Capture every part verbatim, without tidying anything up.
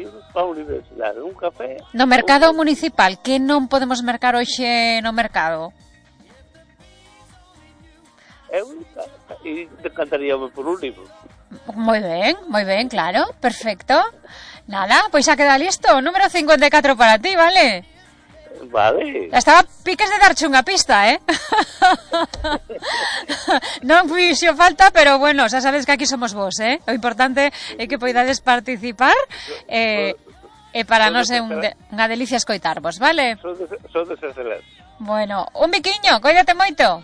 imos para a universidade, un café... No mercado un... municipal, que non podemos mercar hoxe no mercado? Eu e decantaríame por un libro. Moi ben, moi ben, claro, perfecto. Nada, pois xa queda listo, número cincuenta e catro para ti, vale? Vale. Estaba piques de darche unha pista, eh? Non fixo falta, pero bueno, xa sabes que aquí somos vos, eh? O importante é que poidades participar e, e para nós é un de, unha delicia escoitarvos, vale? Sodes excelentes. Bueno, un biquiño, coídate moito.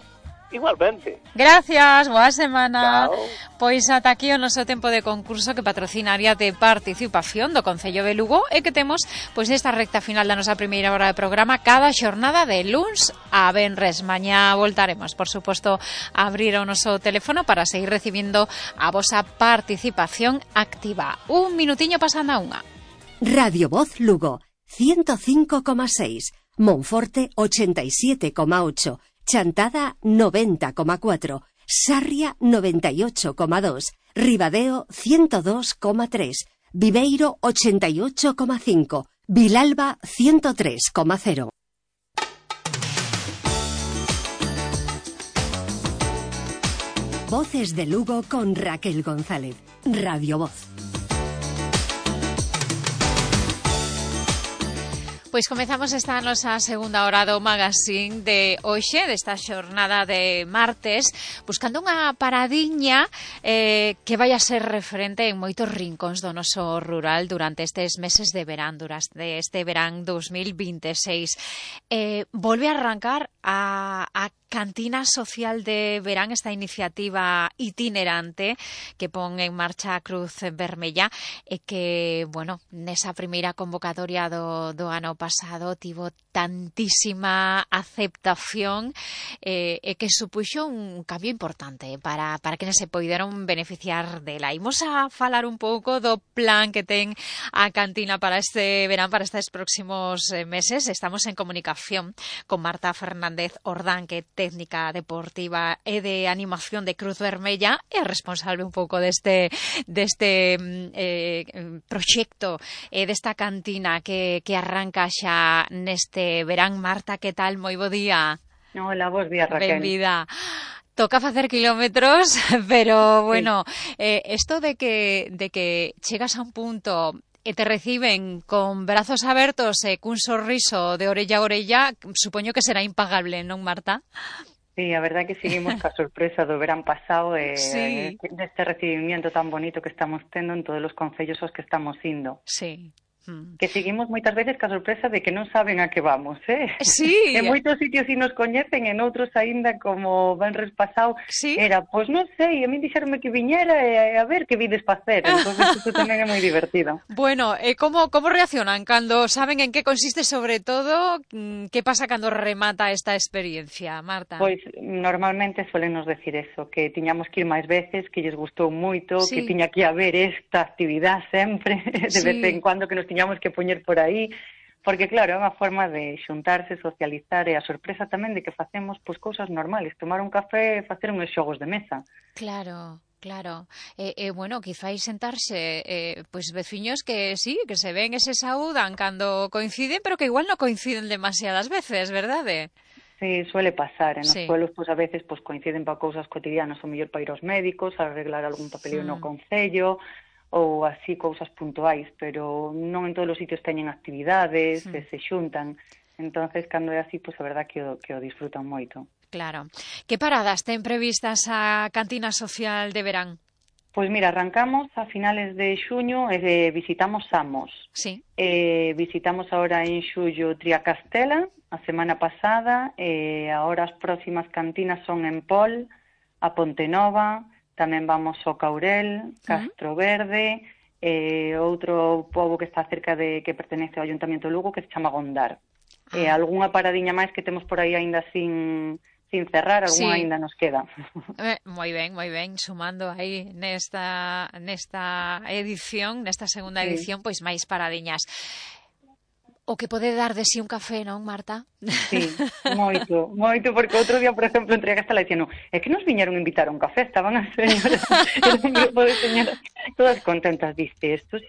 Igualmente. Gracias, boa semana. Chao. Pois ata aquí o noso tempo de concurso que patrocina a área de participación do Concello de Lugo e que temos pois nesta recta final da nosa primeira hora de programa cada xornada de luns a venres. Mañá voltaremos, por suposto, a abrir o noso teléfono para seguir recibindo a vosa participación activa. Un minutiño pasando a unha. Radio Voz Lugo, ciento cinco coma seis, Monforte ochenta y siete coma ocho, Chantada noventa coma cuatro, Sarria noventa y ocho coma dos, Ribadeo ciento dos coma tres, Viveiro ochenta y ocho coma cinco, Vilalba ciento tres coma cero. Voces de Lugo con Raquel González. Radio Voz. Pois comezamos esta nosa segunda hora do magazine de hoxe, desta xornada de martes, buscando unha paradiña eh, que vai a ser referente en moitos rincóns do noso rural durante estes meses de verán, durante este verán dos mil vinte e seis. Eh, volve a arrancar a, a Cantina Social de Verán, esta iniciativa itinerante que pon en marcha a Cruz Vermella e que, bueno, nesa primeira convocatoria do, do ano pasado tivo tantísima aceptación eh, e que supuxo un cambio importante para, para que se poideron beneficiar dela. Imos a falar un pouco do plan que ten a cantina para este verán, para estes próximos meses. Estamos en comunicación con Marta Fernández Ordán, que técnica deportiva e de animación de Cruz Vermella e responsable un pouco deste deste eh, proxecto e eh, desta cantina que, que arranca xa neste verán. Marta, que tal? Moi bo día. Hola, bos días, Raquel. Benvida. Toca facer kilómetros, pero bueno, sí. eh, esto de que, de que chegas a un punto e te reciben con brazos abertos e cun sorriso de orella a orella, supoño que será impagable, non, Marta? Sí, a verdade que seguimos ca sorpresa do verán pasado e sí. deste recibimiento tan bonito que estamos tendo en todos os concellos aos que estamos indo. Sí. Mm. Que seguimos moitas veces ca sorpresa de que non saben a que vamos, eh? Sí. En moitos sitios si nos coñecen, en outros aínda como venres pasado, sí. Era, pois non sei, a mí dixeronme que viñera e a ver que vides facer, entón isto tamén é moi divertido. Bueno, e eh, como, como reaccionan cando saben en que consiste, sobre todo, que pasa cando remata esta experiencia, Marta? Pois normalmente suelen nos decir eso, que tiñamos que ir máis veces, que lles gustou moito, sí. que tiña que haber esta actividade sempre, de sí. vez en cuando que nos tiñamos que poñer por aí, porque claro, é unha forma de xuntarse, socializar e a sorpresa tamén de que facemos pois cousas normales, tomar un café e facer uns xogos de mesa. Claro. Claro, e eh, eh, bueno, quizáis sentarse eh, pois veciños que sí, que se ven e se saúdan cando coinciden, pero que igual non coinciden demasiadas veces, verdade? Sí, suele pasar, en os sí. pueblos pois a veces pois coinciden para cousas cotidianas, o mellor para ir aos médicos, a arreglar algún papeleo mm. no concello, ou así cousas puntuais, pero non en todos os sitios teñen actividades, mm. se xuntan. Entonces, cando é así, pois a verdad que o, que o disfrutan moito. Claro. Que paradas ten previstas a Cantina Social de Verán? Pois mira, arrancamos a finales de xuño e eh, visitamos Samos. Sí. Eh, visitamos ahora en xullo Triacastela, a semana pasada, e agora as próximas cantinas son en Pol, a Pontenova, tamén vamos ao Caurel, Castro Verde, e outro pobo que está cerca de, que pertenece ao Ayuntamiento de Lugo, que se chama Gondar. Ah. E algunha paradiña máis que temos por aí aínda sin, sin cerrar, algunha sí. aínda nos queda. Eh, moi ben, moi ben, sumando aí nesta, nesta edición, nesta segunda sí. edición, pois máis paradiñas. O que pode dar de si un café, non, Marta? Sí, moito, moito, porque outro día, por exemplo, entrei a Castela e dixen, é que nos viñeron a invitar a un café, estaban as señoras, era un grupo de señoras, todas contentas, diste, isto sí